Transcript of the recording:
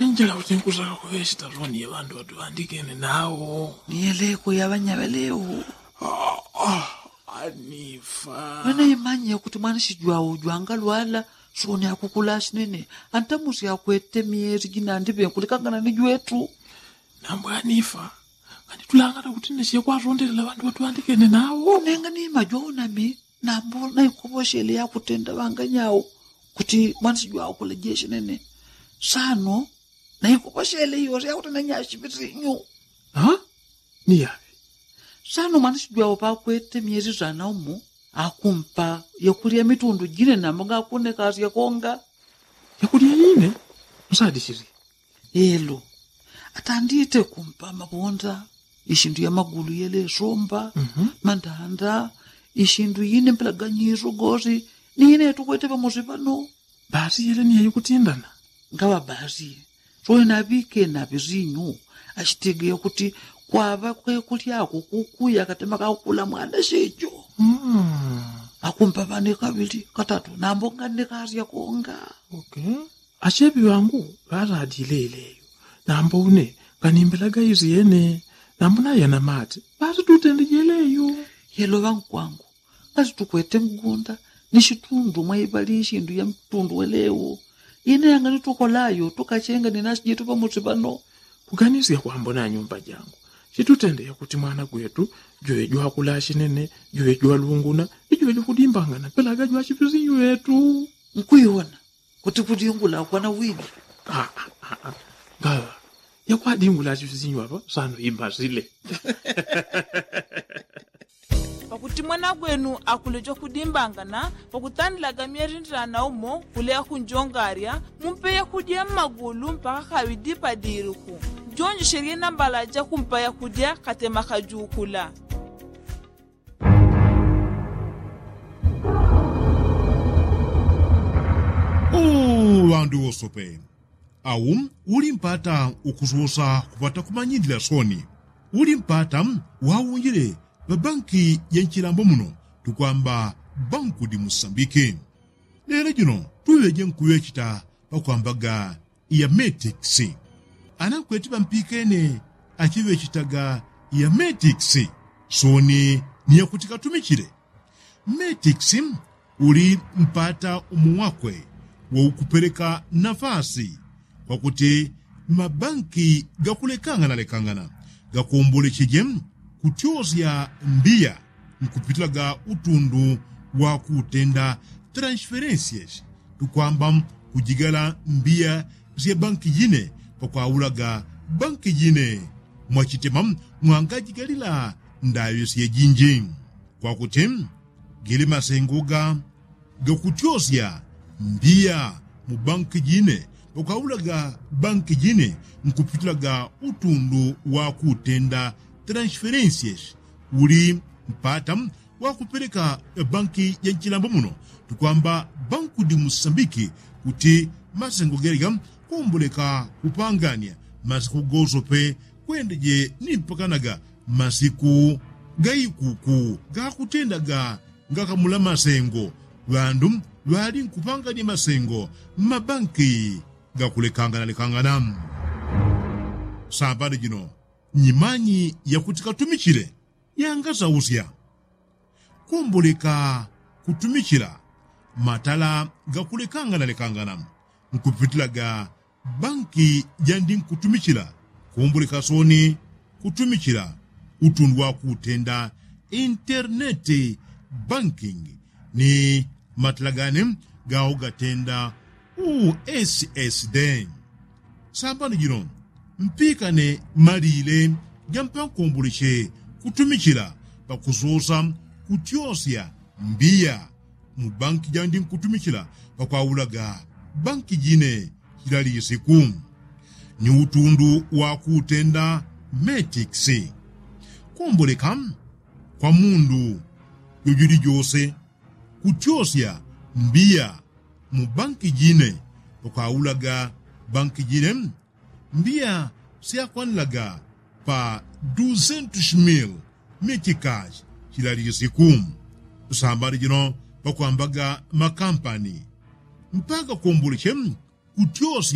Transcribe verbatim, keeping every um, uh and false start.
Injila kuti nkusaka kuŵechita loni ya ŵandu ŵatuŵandikene nawo. Niyeleko ya ŵanyaŵelewo. Anifa. Ŵanaimanye kuti mwanisi jwawo jwangalwala soni akukula sinene. Antamusi akwete myeli jinandi ŵenkulekangana ni jwetu. Nambo anifa. Nganitulangana kuti nesiye kwatondelela ŵandu ŵatuŵandikene nawo. Nenga nimajo unami. Nambo naikoposhele yakutenda ŵanganyawo kuti mwanisi jwawo kulejeshe nene. Sano naikoposhele yose yakutenda nyashi pisinyu. Niyaŵe. Sano mwanisi jwawo pakwete myeli sana umo akumpa yakulya mitundu jine nambo ngakunekasya konga. Yakulya yine? Nsadisili. Elo. Atandite kumpa mabonda, ishindu ya magulu yelesomba, mandanda, ishindu yine mpelaganyiso gosi. Ni yine yatukwete pamosi pano. Basi yele ni yayikutindana. Ngaŵa basi. Soye naŵike naŵisinyu. Ashitegeya kuti kwaŵa kwekulyako kukuya katema kakukula mwana shecho. Akumpa ŵane kaŵili katatu nambo nganekasya konga. Acheŵi ŵangu ŵaladile ileyo. Nambo une nganimbelaga izi yene. Nambo nayana mate ŵatitutende jeleyo. Yelo ŵankwangu. Ngati tukwete mgunda ni shitundu mwaiŵali ishindu ya mtundu welewo. Ine yanganitukolayo tukachenga ni nasi jetu pamosi pano. Kuganisya kwambo na nyumba jangu. Chitutende yakuti mwana gwetu jwejo akula ashinene, jwejo alunguna, ni jwejo kudimbangana pelaga jwachipisinyu yetu. Nkuiwona kuti kudingula kwana wini. Ngaŵa yakwadingula achipisinyu apa sano imbasile. Pakuti mwana gwenu akuleja kudimbangana pakutandilaga myerindilana umo kuleya kunjongarya mumpe yakudya mmagulu mpaka kaŵidi padiriku. Jonjeshelye nambala jakumpa yakudya katema kajukula. Ŵandu wosope. Awu uli mpata ukususa kupata kumanyilila soni. Uli mpata waunjile ŵabanki ja nchilambo muno tukwamba banku di musambiki. Lelo jino tuŵeje nkuŵechita pakwambaga ya metix. Anakweti ŵampikene achiŵechitaga ya metix soni ni yakuti katumichile. Metix uli mpata umo wakwe waukupeleka nafasi kwakuti mabanki gakulekangana lekangana gakombolecheje kutyosya mbiya nkupitilaga utundu wakutenda transferensias tukwamba kujigala mbiya sya banki jine pakwaulaga banki jine mwachitema mwangajigalila ndaŵe syejinji. Kwakuti gili masengo ga gakutyosya mbiya mu banki jine pakwaulaga banki jine nkupitilaga utundu wakutenda transferensias uli mpata wakupeleka banki ja nchilambo muno tukwamba banku di musambiki kuti masengo gelega komboleka kupangania masiku gosope kwendeje ni mpakanaga masiku gaikuku gakutendaga ngakamula masengo ŵandu ŵali nkupangania masengo mmabanki gakulekanganalekangana. Sambani jino nyimanyi yakuti katumichile yangasausya komboleka kutumichila matala gakulekanganalekangana nkupitilaga banki jandi nkutumichila komboleka soni kutumichila utundu wakutenda internet banking ni matala gane gawo gatenda ussd. Sambani jino mpikane malile jampankomboleche kutumichila pakusosa kutyosya mbiya mu banki jandi nkutumichila pakwaulaga banki jine chila lisiku ni utundu wakutenda metix. Komboleka kwa mundu jojuli jose kutyosya mbiya mu banki jine pakwaulaga banki jine mbiya syakwanilaga pa duzentus mil mitikash chila lisiku. Sambani jino pakwambaga makampani mpaka komboleche kutyosya